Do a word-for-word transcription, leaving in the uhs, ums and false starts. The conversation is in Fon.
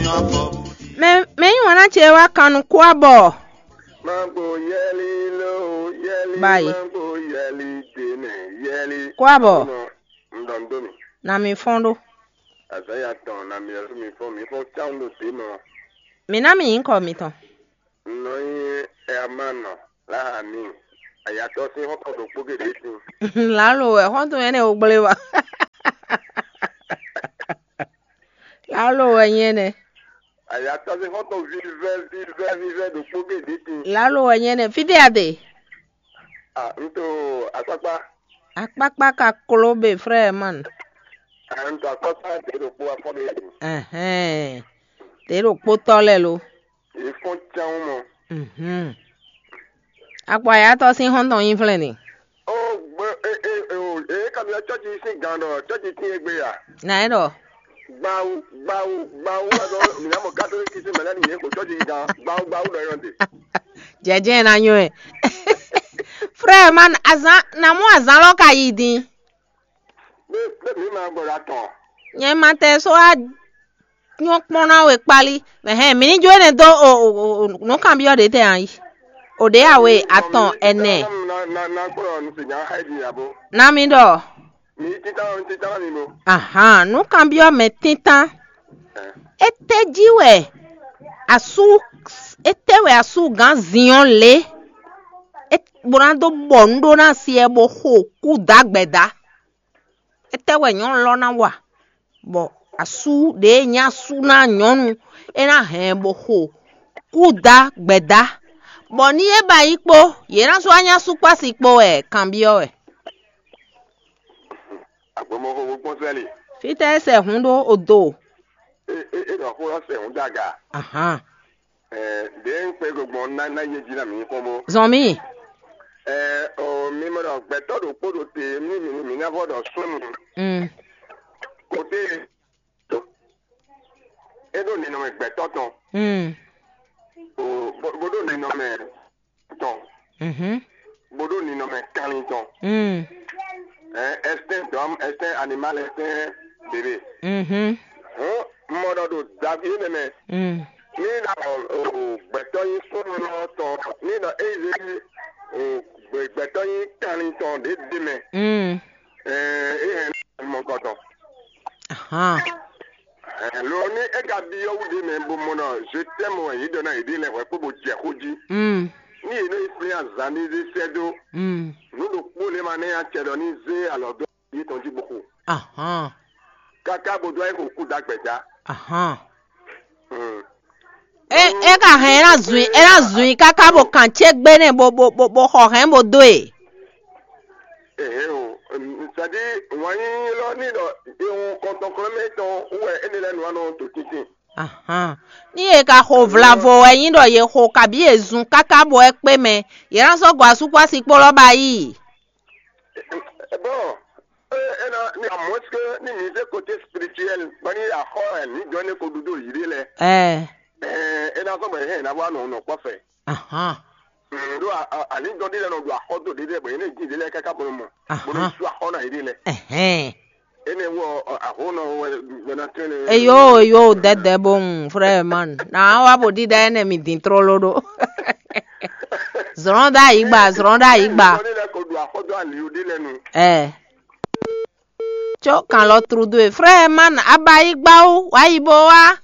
Mɛ mɛ yí wǎn ná ce wá kan nú kú abɔ. Magbo yɛli lo, yɛli Báyìí. Magbo yɛli dènè yɛli. Kú abɔ. Nɔ ŋdɔndó mi. Na mi fɔ́n ɖó. Azaya tɔn na mi ɛlú mi fɔ́n mi fɔ́n tsáwun ɖo dé mɔ. Mi ná mi nyǐkɔ mitɔn. Nɔ nyi ɛmanɔ. Lahani. Ayatɔ sín xɔkɔ ɖokpó geɖé sin. Lǎlo wɛ xɔ́ntɔn ɛnɛ wo gblé wa. Lǎlo wɛ nyɛ nɛ. Ayatɔ sín xɔ́ntɔn vívɛ́ vívɛ́ vívɛ́ ɖokpó geɖé sin. Lǎlo wɛ nyɛ nɛ. Fítɛ́ a ɖe? Ah, un to akpakpa. Akpakpa ka kló be frère man. Ah, un to akpakpa ɖě ɖokpó afɔ ɖé. Ɛhɛn. Ɖě ɖokpó tɔ lɛ lo. Yě fɔ́n cán mɔ. Mhm. Akpɔ ayatɔ sín xɔ́ntɔn nyí flɛ́n ni. Ó gbé é é é o é kan mi cɔ́ci sín gan ɖɔ cɔ́ci tín é gbé ya. Na é ɖɔ. Gbawu gbawu gbawu wɛ ɖɔ mǐ ná mɔ katolíki sín mɛlɛ́ nìyẹn kò cɔ́ci gan gbawu gbawu ɖɔ yɔn de. Jɛjɛ na nyɔ ɛ. Frère man azan na mú azan lɔ ka yi din. Bɛ bɛ mǐ ma gbɔ ɖo atɔn. Nyɛ ma tɛ só wá nyɔ kpɔ́n ná we kpálí. Mɛhɛn mi ní jó énɛ́ dó o o o nǔkanbyɔ́ ɖě tɛ a yi. O ɖě a we atɔn ɛnɛ. Na na na na kplɔ nu si nya xɛ di abo. Na mi ɖɔ. Mi títà mi títà mi bo. Ahan nǔkanbyɔ́ mɛ títán. Étɛ́ jí wɛ asú étɛ́ wɛ asú gǎn Zinyɔ́ lě? É bó ná dó bɔ nǔ ɖó ná si ɛ bó xo kú dá gbɛ̌ dá. Étɛ́ wɛ nyɔ̌nu lɔ ná wa, bɔ asú ɖě e nyí asú ná nyɔ̌nu é ná hɛn ɛ bó xo kú dá gbɛ̌ dá, bɔ ní é ba yi kpó, yě ná sɔ́ wá nyí asú kpó asi kpó wɛ kanbyɔ́ wɛ. Agbɔmɔxo kpɔ́n sɛ́li. Fítɛ́ é sɛ hǔn ɖó odo? É é é ɖɔ xó ɔ́ sɛ hǔn daga. Ahán. Ɛɛ ɖě un kpé go gbɔn ná ná yé jí ná mi kpɔ́n bó. Zɔn mì. Ɛɛ o mi mɔ ɖɔ gbɛtɔ́ ɖokpó ɖo te mí mi mi ná vɔ ɖɔ súnnu. Mm. Kote é ɖo ninɔmɛ gbɛtɔ́ tɔn. Mm. O bó bó ɖo ninɔmɛ tɔn. Mhm. Bó ɖo ninɔmɛ kanlin tɔn. Mm. Ɛɛ ɛsɛn dɔm ɛsɛn animal ɛsɛn bebe. Mhm. Hɔn mɔ ɖɔ ɖo davi énɛ́ mɛ. Mm. Ní na gbɛtɔ́ nyí súnnu tɔn ní nɔ éyí zé gbɛtɔ́ nyí kanlin tɔn ɖě ɖe mɛ. Mm. Ɛɛ é hɛn mɔ kɔtɔn. Ahan. Ɛɛ lo ní é ka byɔ́ wú ɖe mɛ bó mɔ nɔ je t'aime wɛ yě ɖɔ ná yě ɖe lɛ hwɛ kpó bó jɛ xó jí. Mm. Ní yě nɔ yi flín azǎn ní zé sɛ́ dó. Mm. Nǔ ɖokpó lě ma nɛ nyi acɛ ɖɔ ní zé alɔ dó yě tɔn jí bó xo. Ahan. Káká bó dó ayé xo kú dá gbɛ̌ dá. Ahan. Mm. É é ka hɛn é ná zun é ná zun káká bó kan cé gbé nɛ bó bó bó bó xɔ hɛn bó dó e. Ehe o, c'est-à-dire wǎn yíyí lɔ ní ɖɔ ihun kɔntɔnklɔ́mɛ tɔn wú wɛ énɛ́ lɛ́ɛ nɔ wá nɔ to tíntín. Ahan. Ní yě ka xo vlavo wɛ nyí ɖɔ yě xo kabí yě zun káká bó wɛ kpé mɛ, yě ná sɔ́ gɔ̌ asúkpɔ́ asi kpó lɔ́ ba yí. Bon, é é ná ní à moins que ní mi zé côté spirituel, bɔ ní axɔ ɛ ní dɔn ní ko ɖu dó yǐ ɖé lɛ. Ɛ Ɛɛ é ná sɔ́ bɔ yě hɛn ná wá nɔ nɔ kpɔ́ fɛ. Ahan. Ɖó alǐndɔn ɖé lɛ nɔ ɖo axɔ dó ɖé lɛ bɔ yě ní jí ɖé lɛ káká bó nɔ mɔ bó nɔ Ahan. Sú axɔ ná yě ɖé lɛ. Ɛhɛn. Énɛ́ wɔ ahonɔ wɛ ná tɛ́nɛ. Eyo eyo dɛdɛ bo ŋu frère man. Na wa bo ɖiɖa ɛnɛ mi din trolo ɖo. Zrɔn ɖo ayigba, zrɔn ɖo ayigba. Ní lɛ ko ɖo axɔ dó ali ɖé lɛ nu. Ɛ. Tso kan lɔ tru do e frère man aba yi gba wo wa yi bo wa.